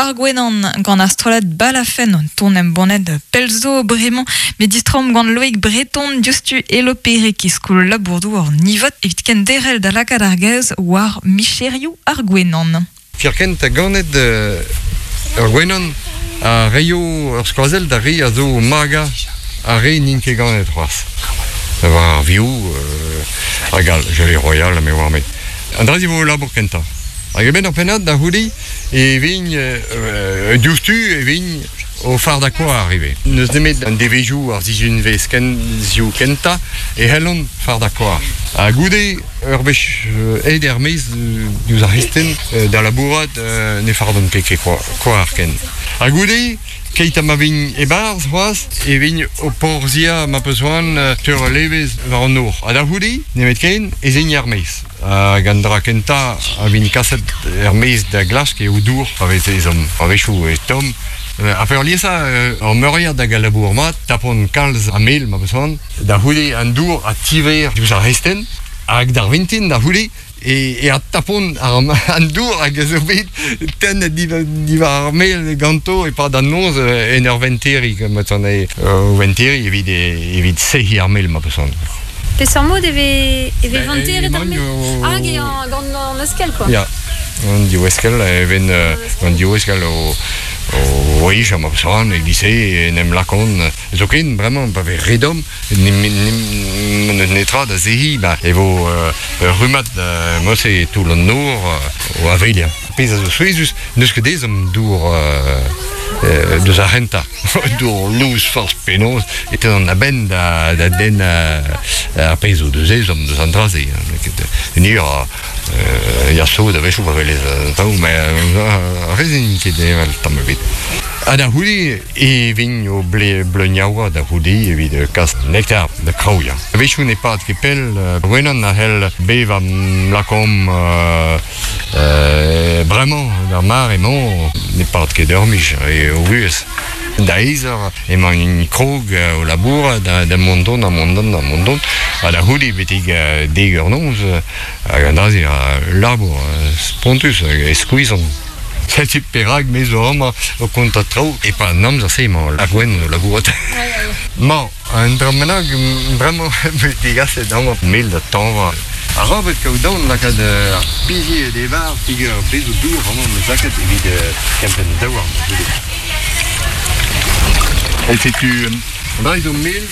ar gwenan gant ar strollad Balafenn, un ton embannet pell zo bremañ, met distroomp gant Loïc Breton diouzhtu e Lopereg e skol labour-douar Nivot evit kenderc'hel da lakaat ar gaoz war micherioù ar gwenan. Kerkent ha ganet ur gwenan a reio ur skoazell d'ar re a zo o magañ ar re n'int ket ganet c'hoazh. War ar vioù hag all, gelée royale me oar-me. An dra-se vo labour kentañ. Hag a-benn ur pennad da c'houde e vin diouzhtu e vin o fardañ koar ivez. N'eus nemet an devezhioù ar sizhunvezh kenzioù kentañ e c'hellont fardañ koar. Ha goude ur wech aet er-maez diouzh ar c'hristen da labourat ne fardont ket ket koar ken. Ha goude Keit ha ma vin e-barzh c'hoazh e vin o porzhiañ ma peus c'hoant teurel evezh war an nor. Ha da c'houde, nemetken, ez in er-maez. Hag an dra kentañ a vin kaset er-maez da glask eo dour pa vez ezhomm. A-wechoù e tomm. Ha peurliesañ ur meuriad hag a labour mat, tapont kalz a mel ma peus c'hoant. Da c'houde an dour a tiver diouzh ar c'hestenn. Hag d'ar vintin da c'houde e adtapont an dour hag a zo bet tennet diwar ar mel ganto e-pad an noz en ur venteriñ, ma o venteriñ evit evit sec'hiñ ar mel ma peus c'hoant. Peseurt mod e vez e vez venteret ar mel? Hag eo gant an eskell quoi. Ya, an div eskell e ven an div eskell o o hejañ ma peus c'hoant e-giz-se en em lakaont zoken bremañ pa vez re domm N'eus netra da zehiñ, ba e vo ur rummad mod-se e toull an nor o aveliañ. Pezh a zo souezhus, n'eus ket ezhomm dour deus ar c'hentañ. Dour lous forzh penaos e teuont a-benn da denn ar pezh o deus ezhomm deus an dra-se. Ni a ya sot a-wechoù pa welez an traoù, met ar re-se n'int ket heñvel tamm ebet. Ha da c'houde E vin o bleuniaoua da c'houde evit kas nektar da kraouiañ. A-wechoù ne pad ket pell, gwenan a c'hell bevañ lakaomp bremañ, d'ar mare-mañ, ne pad ket ur miz e o vuhez. Da eizh eur emañ krog o labourat da mont dont, da mont dont, da mont dont, ha da c'houde betek dek eur noz, hag an dra-se a labour spontus hag e skuizhan. Setu perak me zo amañ o kontañ traoù e-pad an amzer-se emañ ar gwenn o labourat. Mañ, un dra bennak bremañ 'm eus degaset amañ mel da tañva. Arabat kaout aon lakaat ar bizied e-barzh peogwir bez zo dour amañ 'm eus lakaet evit kempenn daouarn goude. E setu an dra zo mel,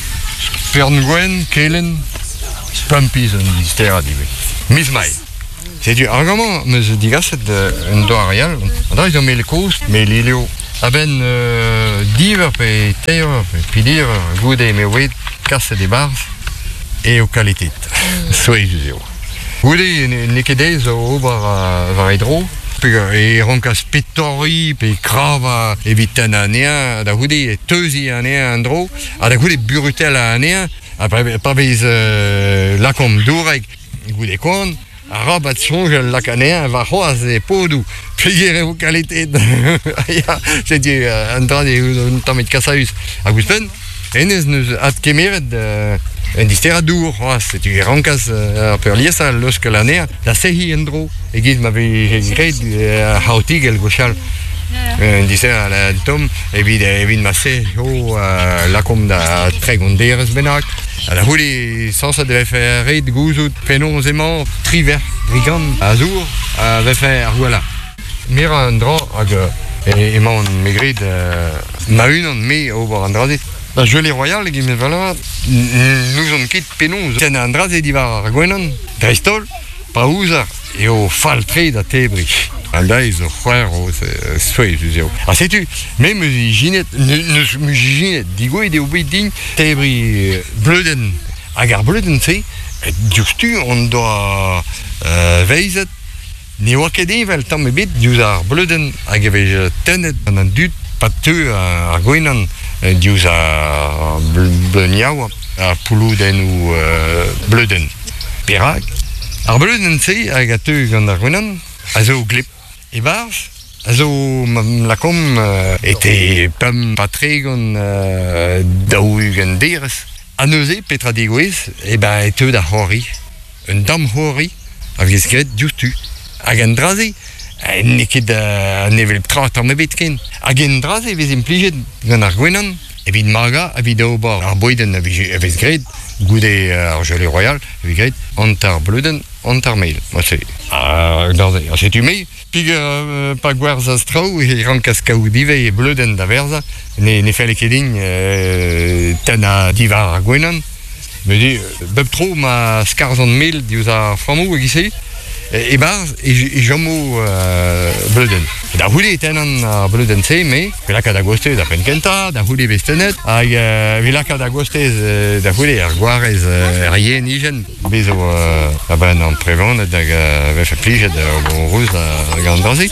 spern gwenn, kelenn, pemp piz un disterad ivez. Miz Mae. Setu hag amañ 'm eus digaset un doare all. An dra zo mel kozh, mel ilio. A-benn div eur pe teir eur pe peder eur goude m'eo bet kaset e-barzh eo kaletet. Souezhus eo. Goude n'eo ket aes ober war e dro. E rankas pe torriñ pe kravañ evit tennañ anezhañ, da c'houde teuziñ anezhañ en-dro, ha da c'houde burutellañ anezhañ, ha pa vez lakaomp dourek Goude koan, arabat soñjal lak anezhañ warc'hoazh e podoù, peger eo kaletet. Ya, setu un dra un tammig kasaüs. Hag ouzhpenn, hennezh 'neus adkemeret un disterañ dour c'hoazh, setu e rankas ar peurliesañ leuskel anezhañ da sec'hiñ en-dro, e-giz ma veze graet ar c'haotigell gwechall. Un disterañ tomm evit evit ma sec'ho lakaomp da 30 derez bennak. Ha da c'houde, sañset e vefe ret gouzout penaos emañ triwec'h brigant a zour a vefe ar gwellañ. Merañ un dra hag emaon me gred ma-unan me ober an dra-se. Da Gelé Royal e Valeur n'ouzon ket penaos tennañ an dra-se diwar ar gwenan, dreist-holl pa ouzer eo fall-tre da tebriñ. An deiz zo c'hwerv, souezhus eo. Ha setu, me 'm eus ijinet, n'eus 'm eus ijinet, digouezhet eo bet din tebriñ bleudenn. Hag ar bleudenn-se, diouzhtu hon doa veizet ne oa ket heñvel tamm ebet diouzh ar bleudenn hag e vez tennet gant an dud pa teu ar gwenan diouzh ar bleuniaouañ, ar pouloudennoù bleudenn. Perak? Ar bleudenn-se hag a teu gant ar gwenan a zo gleb. E-barzh a zo lakaomp ete 35 40 derez. Ha neuze petra degouezh? Eh ben e teu da c'hoari. Un dam c'hoari a vez graet diouzhtu. Hag an dra-se N'eo ket an hevelep tra tamm ebet ken. Hag en dra-se e vez implijet gant ar gwenan evit magañ, evit ober ar bouedenn a vije a vez graet goude ar gelée royal, e vez graet hanter bleudenn, hanter mel. Marse. Ha dra-se, setu me, peogwir pa gwerzhas traoù e rankas kaout ivez e bleudenn da werzhañ. Ne, ne felle ket din tennañ diwar ar gwenan. Met bep tro ma skarzhan mel diouzh ar frammoù e-giz-se, e-barzh e chomo bleudenn. Da c'houde e tennan ar bleudenn-se, me, e lakaat a-gostez ar penn-kentañ, da c'houde e vez tennet, hag e lakaat a-gostez da c'houde ar gwarez er yenijenn, bez zo a-benn an prevanet hag a vefe plijet o reuz gant an dra-se.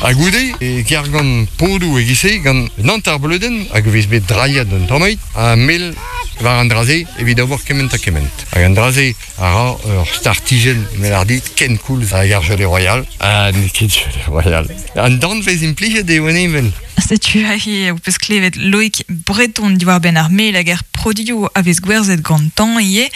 Ha goude e kergont podoù e-giz-se gant un hanter bleudenn hag e vez bet drailhet un tammig ha mel war an dra-se evit ober kement ha kement. Hag an dra-se a ra ur startijenn melardi kenkoulz hag ar gelée royal ha n'eo ket gelée royal. An danvez implijet eo en evel. Setu aze ho peus klevet Loic Breton diwar-benn ar mel hag ar produioù a vez gwerzhet gantañ ivez.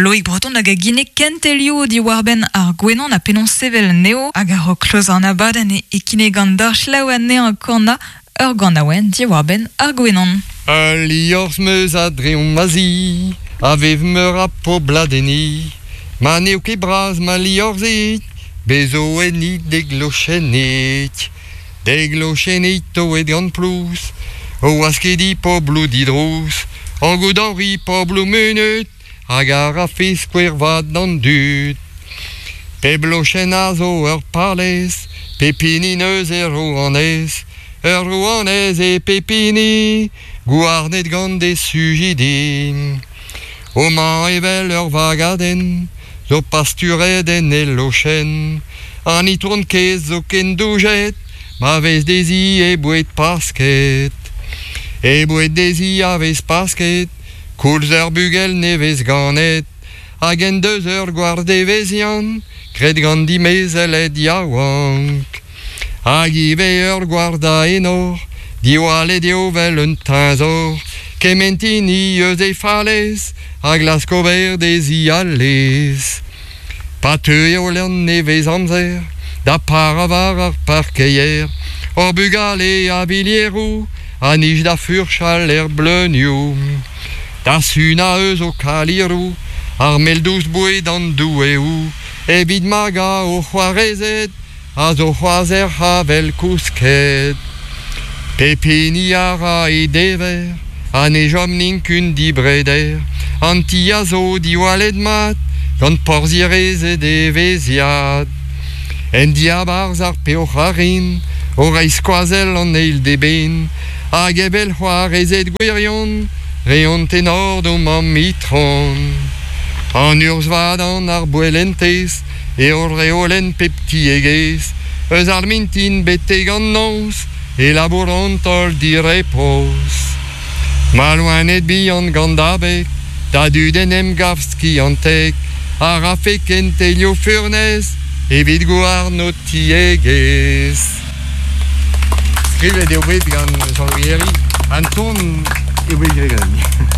Loic Breton hag a ginnig kentelioù diwar-benn ar gwenan ha penaos sevel anezho. Hag a-raok klozañ an abadenn e kinnigan deoc'h selaou anezhañ kanañ ur ganaouenn diwar-benn ar gwenan. Ul liorzh 'meus a-dreñv ma zi, a vev meur a poblad enni. Ma n'eo ket bras ma liorzhig, bez zo enni dek lochennig. Dek lochennig toet gant plouz, o waskediñ pobloù didrouz, o goudoriñ pobloù munut, hag a rafe skouer vat d'an dud. Pep lochenn a zo ur palez, pep hini 'neus e rouanez, ur rouanez eo pep hini, gouarnet gant e sujidi. Homañ evel ur vagadenn zo pasturet en he lochenn, an itron kaezh zo ken doujet ma vez dezhi he boued pasket. He boued dezhi a vez pasket, Koulz ur bugel nevez ganet hag en deus ur gward-evezhiant graet gant dimezelled yaouank. Hag ivez ur gward a enor, diwallet eo 'vel un teñzor, kement hini eus he falez a glask ober dezhi al lez. Pa teuio an nevez-amzer da parañ war ar parkeier, hor bugale a vilieroù a nij da furchal er bleunioù. Da sunañ eus ho kaliroù ar mel dous boued an doueoù evit magañ ho c'hoarezed a zo c'hoazh er c'havell kousket. Pep hini a ra e dever ha ne chom nikun dibreder. An ti a zo diwallet mat gant porzhierezed evezhiad. En diabarzh ar peoc'h a rin, o reiñ skoazell an eil d'eben, hag evel c'hoarezed gwirion, reont enor d'o mamm itron. An urzh vat an arboellentez eo reolenn pep tiegezh, eus ar mintin betek an noz e labouront holl direpoz. Ma loened bihan gant abeg, da dud en em gav skiantek, a rafe kentelioù furnez evit gouarn ho tiegezh. Skrivet eo bet gant Jean-Louis Herry, an ton eo bet graet ganin.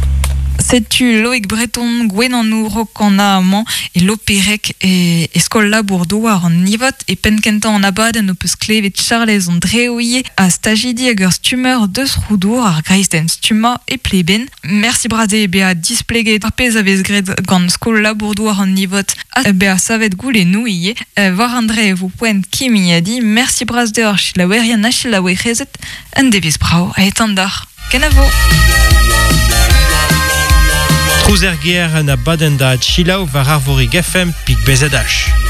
Setu Loig Breton, gwenanour o kanañ amañ e Lopereg e, e skol labour-douar an Nivot. E penn-kentañ an abadenn ho peus klevet Charlez an Dreouilh ha stajidi hag ur stummer deus Roudour ar greizenn stummañ e Pleben. Mersi bras eo bezañ displeget ar pezh a vez graet gant skol labour-douar an Nivot ha bezañ savet goulennoù ivez. War an dre e vo poent kimiadiñ. Mersi bras deoc'h selaouerien ha selaouerezed. Un devezh brav a etan deoc'h. Kenavo! Trouz er gêr un abadenn da selaou war Arvorig FM pik BZH.